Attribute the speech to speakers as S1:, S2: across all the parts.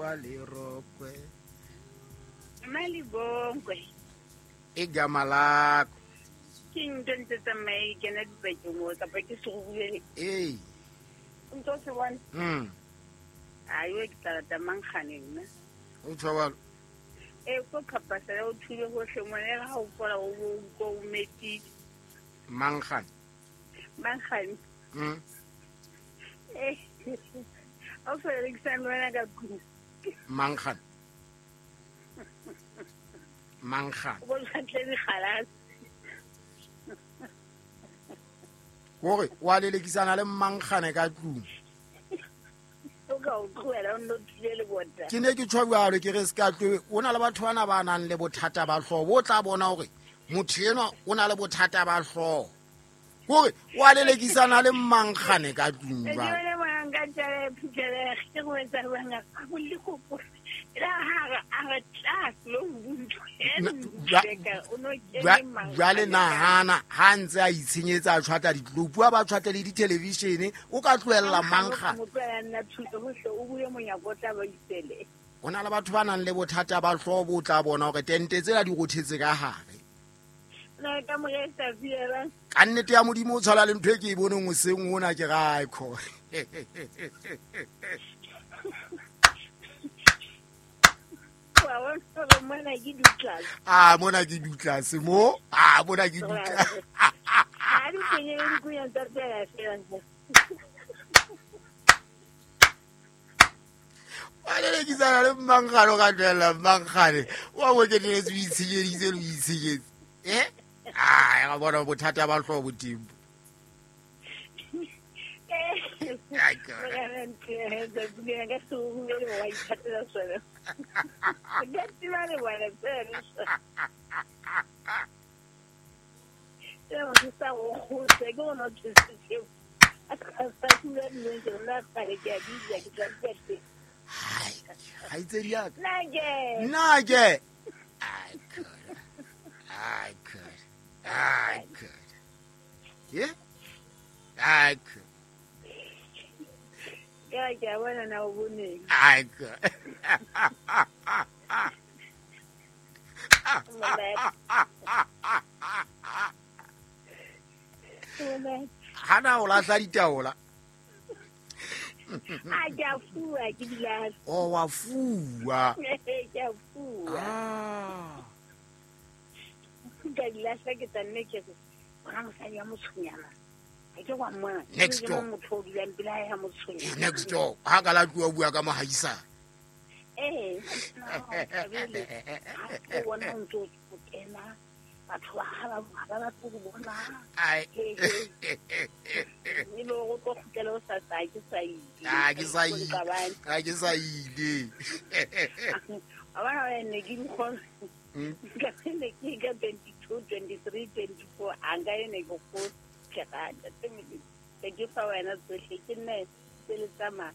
S1: wa lerokwe.
S2: Malibongwe.
S1: Igama lakho.
S2: Ke ntho ntse tsamaye ke kena dipakeng mo kapa ke serurubele.
S1: Ee.
S2: O ntso se bona? Ayo ke tla rata mankgane nna.
S1: O tjho jwalo?
S2: Ee, ko phapasela o thule hohle mona ha o fola o bo utlwa o metile.
S1: Mankgane?
S2: Mankgane. Eh. O sa rekisang le wena ka tlung.
S1: Mankgane. Mankgane.
S2: O bo tjhatle dikgalase.
S1: Hore wa lelekisana le mankgane ka tlung.
S2: O ka o tlohela o nno thule lebota.
S1: Ke ne ke tjho jwalo ke re se ka tlo o na le batho bana ba nang le bothata ba hlooho bo tla bona hore motho enwa o na le bothata ba hlooho. Hore wa lelekisana le mankgane ka tlung
S2: Ke
S1: jwalo.
S2: yone bona nka tjale phuthelege ke go etsa jwang a go le kopo. La ha re a re tla lo buntho. O no kene mankgane
S1: Jwale
S2: ka-
S1: nahana ha ntse a itshenyetsa a tjhwatla ditlopu a ba tjhwatle le di-television o ka tlohella mankgane.
S2: Mo tlohela nna thule hohle o bue monyako o tla ba isele.
S1: Ho na le batho ba nang le bothata ba hlooho bo tla bona hore tente tsela di rothetse ka hare.
S2: Na ka mo re sa fiela.
S1: Ka nnete ya Modimo o tshwana le ntho e ke e boneng hoseng hona ke ra kho.
S2: Wa bona hore mona ke dutlase.
S1: Ah, mona ke dutlase mo. Ah, mona ke dutlase.
S2: Ha di kenye le dikunya tsa tsela fela.
S1: Wa lelekisana le mankgane o ka tlohella mankgane. Wa mo keteletse o itshenyeditse le o itshenyetse. Eh? Ah, ga bona bothata ba hlooho bo teng. Ai, God.
S2: Morena ntle, tsatsi lena ka serurubele wa ithatela sona. Ka tseba le bona tsena. Tsena motho sa go kgotsa, ke gona o thusitse. A ka sa dula dilong ke nna kgale ke a di ja, ke tla di ja teng.
S1: Hai, kgaitsedi ya ka.
S2: Nna ke.
S1: Nna ke. Ai, God. Ai, God. Ai, God. Ye? Ai, God.
S2: Ka ke a bona na o boneng.
S1: Ai, God.
S2: Monate. Monate.
S1: Hana o lahla ditaola.
S2: A ke a fuwa, ke di lahla.
S1: O wa fuwa.
S2: Ke a fuwa.
S1: Ah.
S2: Ka di lahla ke tla nne ke re, bona mosadi ya motshonyana. Ha ke wa mmona.
S1: Next
S2: Ke
S1: door.
S2: motho o dulang pela hae ha motshonyana.
S1: Next door. Ha ka la tloha bua ka mohaisane.
S2: Ee, ha o thabele. Ha o bona o ntso o kena, batho ba ha ba ha ba batle ho bona.
S1: Ai.
S2: He, he. Ebe o tlo kgutlela o sa sa ke sa ile.
S1: Ah, ke sa ile.
S2: Qabane.
S1: Ha ke sa ile.
S2: Wa bona wena ne ke di kgona. Ka ne ke ka 22, 23, 24 a nka ene ke go ke rata. Tse Modimo. Ke ke fa wena tsohle ke nne tse le tsamaya.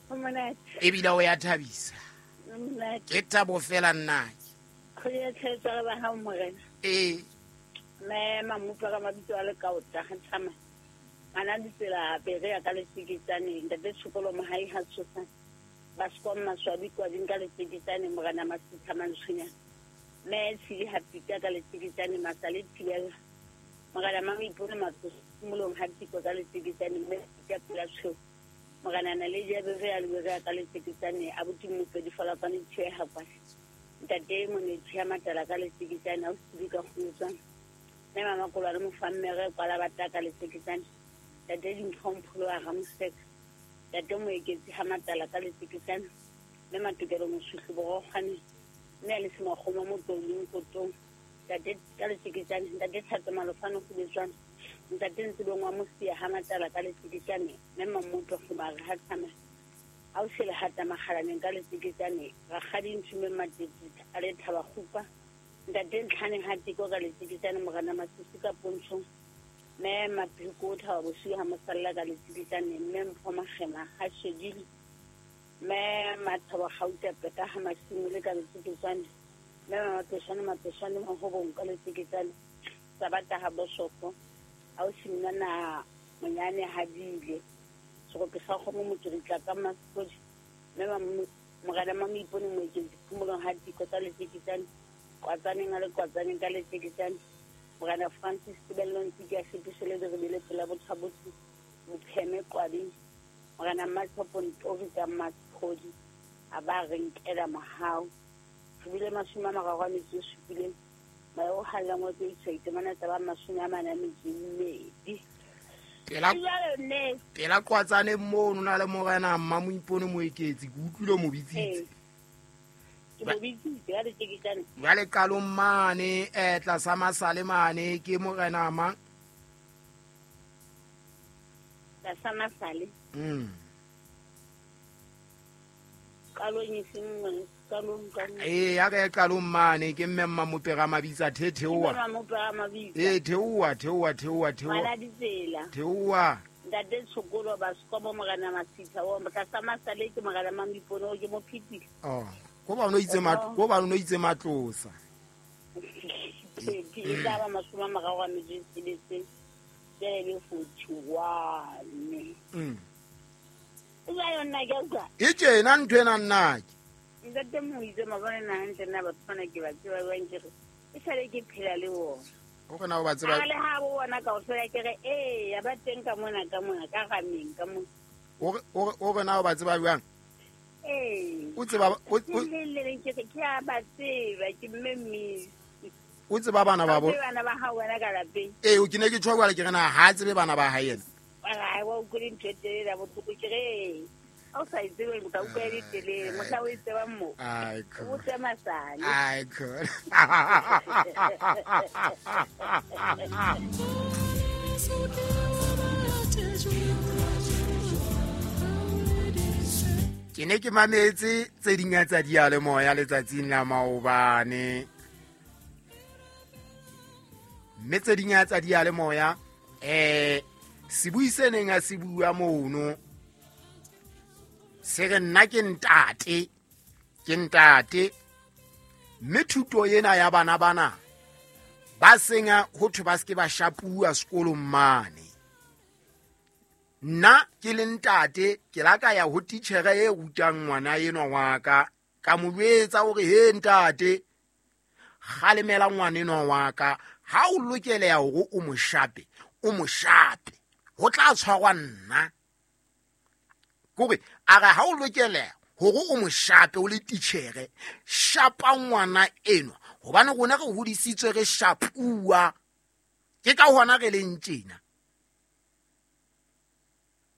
S2: Ho monate.
S1: Ebile o ya thabisa.
S2: Ho monate.
S1: Ke thabo fela nna.
S2: Kgwedi ya tshebetso re ba hao morena.
S1: Ee.
S2: Mme Mamutlwa ka mabitso a lekaota ha tshama. Ngwana ditsela pere ya ka letsikitsane ntate Tshokolo Mohai ha tshosane. Ba sekwa maswabi kwading ka letsikitsane morena Masitha Mantshonyana. Mme Tshidi ha pita ka letsikitsane masale thibela. Morena Mamoipone Matsoso molong ha tiko ka letsikitsane mme ka pela tshweu. Morena Naledi ya bere ya lebere ya ka letsikitsane abuti Mmopedi Folakwane tshwe ha kwa. Ntate Monetsi ya matala ka letsikitsane a o sibi ka kgolotswana. Mme Mama Kolwane Mofammere kwala bata ka letsikitsane. Ntate Dimpho Mpholo wa Ramoseka. Ntate Moeketsi ha matala ka letsikitsane. Mme Matokelo Moshuhlu Borokgwane. Mme a le Semakgomo Motoling Kotong. Ntate ka letsikitsane. Ntate Thato Malofane Kgobetswana. Ntate Ntsebeng wa Mosia ha matala ka letsikitsane. Mme Mamoto Kgobare ha tsamaya. Ha o shele hata makgalaneng ka letsikitsane. Rakgadi Nthume Matete a le Thaba Kgupa. Ntate Ntlhane ha tiko ka letsikitsane morena Masisi ka Pontshong. Mme Mapheko o Thaba Bosiu ha mosalla ka letsikitsane. Mme Mpho Makgema ha Shedile. Mme Mathabo Gauta Peta ha Masimole ka letsikitsane. Mme Mapeshane Mapeshane Mahobong ka letsikitsane. Sabata ha Bosoko. Ha o simina na monyane ha dile. Serope sa kgomo mokiritla ka Masekodi. Mme morena Mamoipone Moeketsi phomolong ha diko tsa letjeketjane kwatsaneng a le kwatsaneng ka letjeketjane morena Francis Tebello Ntsiki a Shepisele Direbele pela Bothabotho Mopheme Qwabeng morena Mmathopo Ntori ka Mmaphodi a ba re nkela mohau re bile 37 moya o hallang wa tse itemana tsa ba 42.
S1: Pela Qwatsane mono na le morena Mmamoipone Moeketsi ke utlwile mo bitsitse.
S2: Ke mo bitsitse ka letjeketjane.
S1: Jwale qalong mane tlasa masale mane ke morena mang?
S2: Tlasa masale. Qalong e seng qalong qalong.
S1: Ya ka qalong mane ke mme Mmamopera Mabitsa theoa.
S2: Mmamopera Mabitsa.
S1: Theoa.
S2: Ngwana ditsela.
S1: Theoa.
S2: Ntate Tshokolo ba Skobo morena Masitha o tlasa masale ke morena Mamoipone o ke mo phitile.
S1: Oh, ko ba no itse matlosa.
S2: Ke tla ba 36 jele 41. Ea yona ke utlwa.
S1: E tjena ntho ena nna ke.
S2: Ntate Moitse mabone na hantle nna batho bana ke ba tseba jwang ke re e sale ke phela le bona.
S1: O re na o ba tseba.
S2: Le ha bo bona kaofela ke re ya ba teng ka mona ka rameng ka mona.
S1: O re na o ba tseba jwang?
S2: Ee.
S1: O tseba
S2: o le ke re ke a ba tseba ke mme mme.
S1: O tseba bana ba bo.
S2: Bana ba hao wena ka lapeng.
S1: Ee, o ke ne ke tjho jwale ke re na ha tsebe bana ba hae yena.
S2: Ai wa utlwile ntho e telele ya bohloko ke re ha o sa e tsebe o tla utlwa e le telele mohla o e tsebang mo o botse masale.
S1: Ai khona. Ke ne ke mametse tse ding tsa diyalemoya letsatsing la maobane. Mme tse ding tsa diyalemoya sebui se neng a se bua mono se re nna ke ntate mme thuto ena ya bana bana ba senga ho thwe ba se ke ba shapuwa sekolong mane. Nna ke le ntate ke la ka ya ho titjhere e rutang ngwana enwa wa ka ka mo jwetsa hore he ntate kgalemela ngwana enwa wa ka ha o lokeleha hore o mo shape ho tla tshwarwa nna. Kore a re ha o lokeleha hore o mo shape o le titjhere shapa ngwana enwa hobane rona re hodisitswe re shapuwa ke ka hona re leng tjena.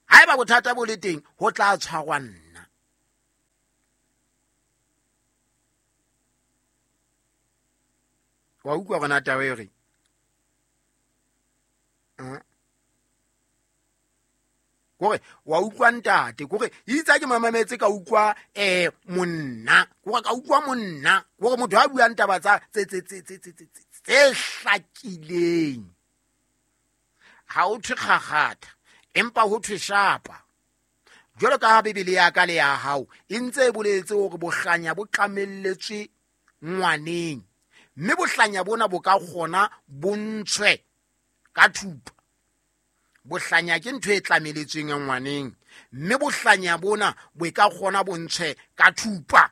S1: Haeba bothata bo le teng ho tla tshwarwa nna. Wa utlwa rona taba e re kore wa utlwa ntate kore itse ke mamametse ka utlwa monna kore ka utlwa monna kore motho a buang taba tsa tse hlakileng. Ha o thwe kgakgatha empa ho thwe shapa. Jwalo ka ha Bibele ya ka le ya hao e ntse e boletse hore bohlanya bo tlamelletswe ngwaneng mme bohlanya bona bo ka kgona bo ntshwe ka thupa. Bohlanya ke ntho e tlameletsweng ngwaneng mme bohlanya bona bo ka kgona bo ntshwe ka thupa.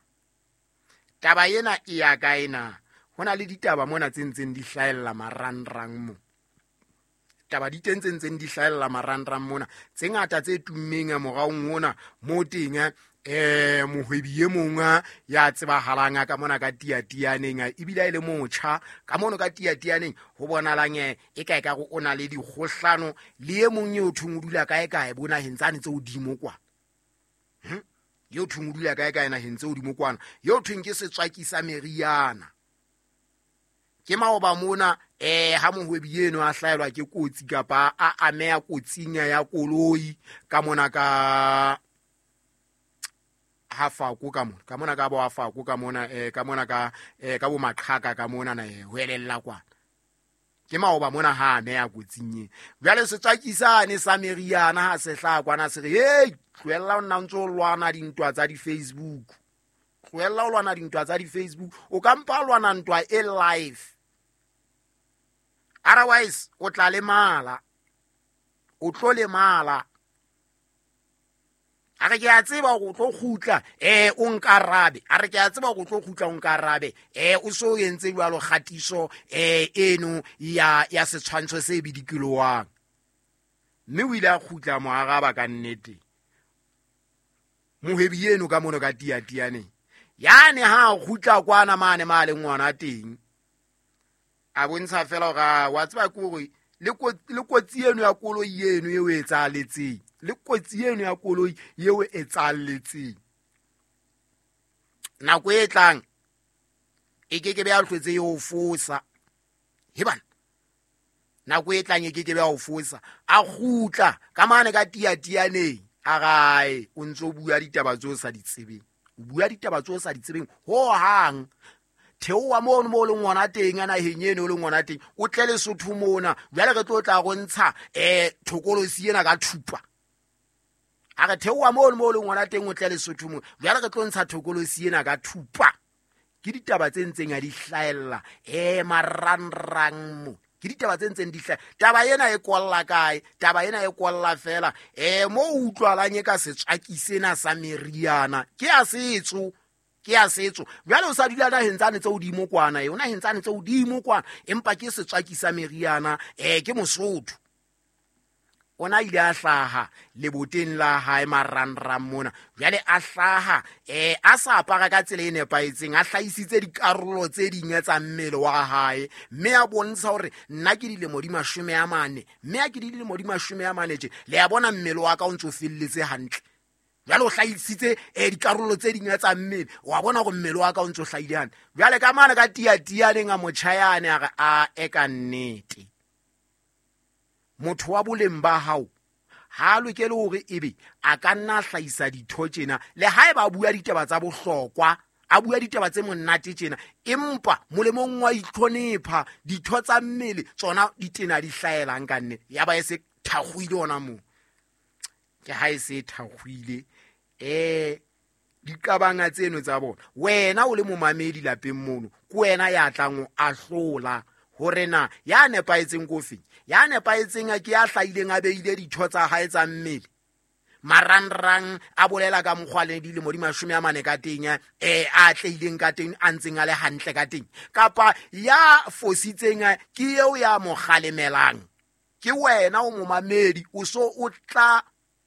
S1: Taba ena e ya kae na? Ho na le ditaba mona tse ntseng di hlahella marangrang mo. Taba di teng tse ntseng di hlahella marangrang mona tse ngata tse tummeng moraong ona mo teng mohwebi e mong ya tsebahalang ka mona ka tiatianeng ebile e le motjha ka mono ka tiatianeng ho bonalang e kae ka o na le dikgohlano le e mong eo thong o dula kae kae bo naheng tsane tse hodimo kwa. Eo thong o dula kae kae naheng tse hodimo kwana eo thong ke setswaki sa meriana. Ke maoba mona ha mohwebi eno a hlaelwa ke kotsi kapa a ameha kotsing ya koloi ka mona ka hafako ka mona ka mona ka bo hafako ka mona ka mona ka ka bo maqhaka ka mona na ho elella kwana. Ke maoba mona ha ameha kotsing e. Jwale setswakisane sa meriana ha se hlaha kwana se re hey tlohella o nna ntse o lwana dintwa tsa di-Facebook. Tlohella o lwana dintwa tsa di-Facebook o ka mpa lwana ntwa e live. Otherwise o tla lemala. O tlo lemala. A re ke a tseba gore o tlo kgutla o nkarabe. A re ke a tseba gore o tlo kgutla o nkarabe. O so entse jwalo kgatiso eno ya setshwantsho se bidikiloang. Mme o ile a kgutla mo araba ka nnete. Mohwebi eno ka mono ka tiatianeng. Yane ha kgutla kwana mane male ngwana teng. A bontsha fela hore wa tseba ke hore le kotsi eno ya koloi eno eo e etsahaletseng. Le kotsi eno ya koloi eo e etsahaletseng. Nako e tlang e ke ke be ya hlwetse e o fosa. He bana. Nako e tlang e ke ke be ya o fosa. A kgutla ka mane ka tiatianeng. A rae o ntso bua ditaba tseo sa di tsebeng. O bua ditaba tseo sa di tsebeng ho hang. Theoha mono mo leng ngwana teng a naheng eno o leng ngwana teng o tle Lesotho mona. Jwale re tlo tla go ntsha thokolosi ena ka thupa. A re theoha mono mo leng ngwana teng o tle Lesotho mona. Jwale re tlo ntsha thokolosi ena ka thupa. Ke ditaba tse ntseng a di hlaella marangrang mo. Ke ditaba tse ntseng di hlaella. Taba ena e kolla kae? Taba ena e kolla fela mo utlwalang e ka setswaki sena sa meriana. Ke ya setso. Ke ya setso. Jwale o sa dula naheng tsane tse hodimo kwana, yona naheng tsane tse hodimo kwana, empa ke setswaki sa meriana, ke Mosotho. Ona ile a hlaha leboteng la hae marangrang mona. Jwale a hlaha a sa apara ka tsela e nepahetseng, a hlahisitse dikarolo tse ding tsa mmele wa hae, mme a bontsha hore nna ke dilemo di 40, mme a ke dilemo di 40 tje. Le a bona mmele wa ka o ntso felletse hantle. Jwale o hlahisitse dikarolo tse ding tsa mmele, wa bona hore mmele wa ka o ntso hlahile hantle. Jwale ka mane ka tiatianeng a motjhayane a re a e ka nnete. Motho wa boleng ba hao ha lokele hore ebe a ka nna hlahisa ditho tjena, le haeba a bua ditaba tsa bohlokwa, a bua ditaba tse monate tjena, empa molemong wa itlhonepha ditho tsa mmele tsona di tena di hlaelang ka nne. Ya ba e se thakgoile hona moo. Ke ha e se thakgoile diqabanga tseno tsa bona. Wena o le momamedi lapeng mono, ke wena ya tlang o ahlola hore na ya nepahetseng ko feng. Ya nepahetseng ke ya hlahileng a beile ditho tsa hae tsa mmele marangrang, a bolela ka mokgwa le dilemo di 40 ka teng, a tleileng ka teng, a ntseng a le hantle ka teng, kapa ya fositseng ke eo ya mo kgalemelang. Ke wena o momamedi, o so o tla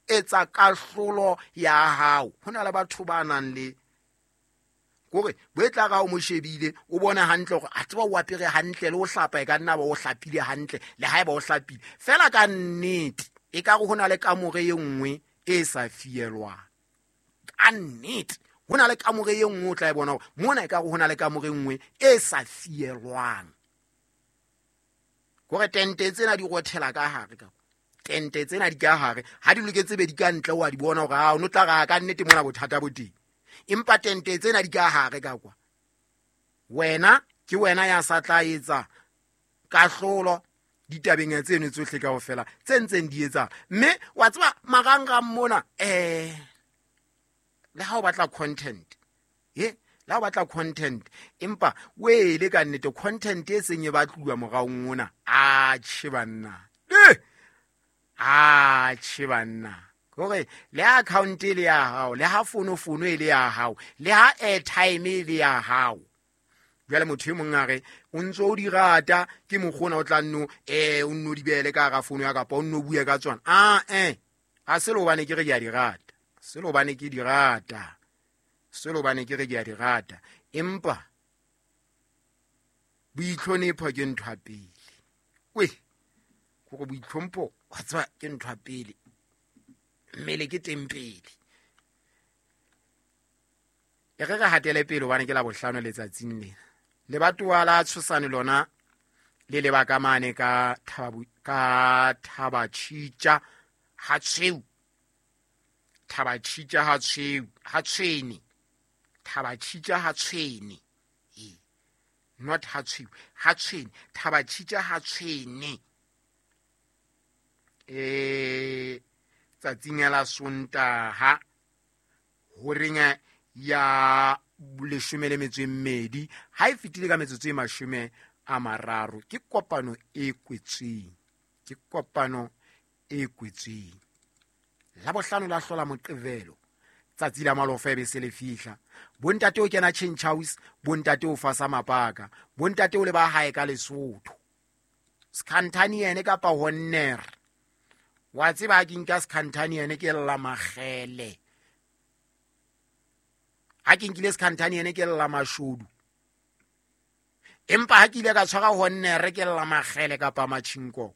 S1: etsa kahlolo ya hao. Ho na le batho ba nang le kore bo e tla ra o mo shebile, o bone hantle hore a tseba o apere hantle, le o hlapa e ka nna ba o hlapile hantle, le haeba o hlapile fela ka nnete e ka re ho na le kamore e nngwe e sa fielwang. Ka nnete ho na le kamore e nngwe o tla e bona hore mona e ka re ho na le kamore e nngwe e sa fielwang. Kore tente tsena di rothela ka hare ka tente tsena di ka hare, ha di loketse be di ka ntle, wa di bona hore ha o no tla ra ka nnete mona bothata bo teng. Empa tente tsena di ka hare ka kwa. Wena ke wena ya sa tla etsa kahlolo ditabeng tseno tsohle kaofela tse ntseng di etsa. Mme wa tseba marangrang mona le ha o batla content, le ha o batla content, empa wele ka nnete content e seng e batluwa moraong ona. Atjhe banna, atjhe banna, kore le account e le ya hao, le ha fono e le ya hao, le ha airtime e le ya hao. Jwale motho e mong a re o ntso o di rata, ke mokgona o tla nno o nno di beele ka hara fono ya kapa o nno bue ka tsona. A se le hobane ke re ke a di rata, se le hobane ke di rata, se le hobane ke re ke a di rata, empa boitlhonepho ke ntho ya pele. We kore boitlhompho wa tseba ke ntho ya pele, mmele ke teng pele. E re re hatele pele hobane ke la bohlano letsatsing lena. Lebatowa la Tshosane lona le leba ka mane ka Thabatjhitja ha tshweu. Thabatjhitja ha tshweu, ha tshwene. Thabatjhitja ha tshwene. Not ha tshweu, ha tshwene. Thabatjhitja ha tshwene. Tsatsing la Sontaha horeng ya 12 ha e fetile ka metsotso e 30. Ke kopano e kwetsweng, ke kopano e kwetsweng. La bohlano la hlola Moqebelo Tsatsi la malofa e be se le fihla. Bontate o kena change house, bontate o fasa mapaka, bontate o le ba hae ka Lesotho. Skhantaniene kapa Honner. Wa tseba ha ke nka Skhantaniene ke lla makgele. Ha ke nkile Skhantaniene ke lla mashodu. Empa ha ke ile ka tshwara Honnere ke lla makgele kapa matjhinkoko.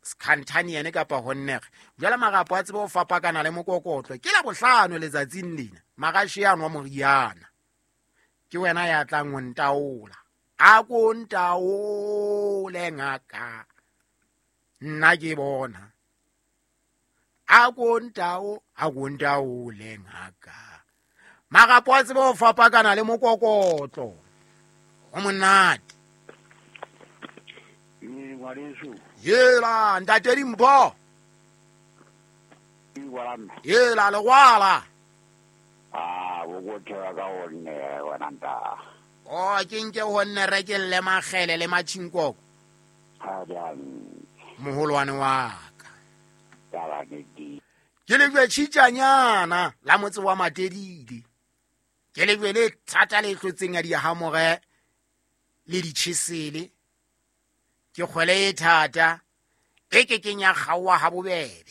S1: Skhantaniene kapa Honnere. Jwale marapo a tsebe ho fapakana le mokokotlo. Ke la bohlano letsatsing lena. Marashe a nwa moriana. Ke wena ya tlang ho ntaola. A ko ntaole ngaka. Nna ke bona. A ko ntao, a ko ntaole ngaka. Marapo a tsebe ho fapakana le mokokotlo. Ho monate.
S3: Ngwaneso.
S1: Yela, ntate Dimpho. Yela, legwala.
S3: Ah, bo go thewa ka gonne wena nta.
S1: Oh, ke nke gonne re ke lle makgele le matjhinkoko.
S3: Ha jang.
S1: Moholwane wa ka.
S3: Taba nnete.
S1: Ke lejwe tjhitjanyana la motse wa Matedile. Ke lejwe le thata le tlotseng ya dihamore le ditjhesele. Ke kgwele e thata e ke keng ya kgaoha ha bobebe.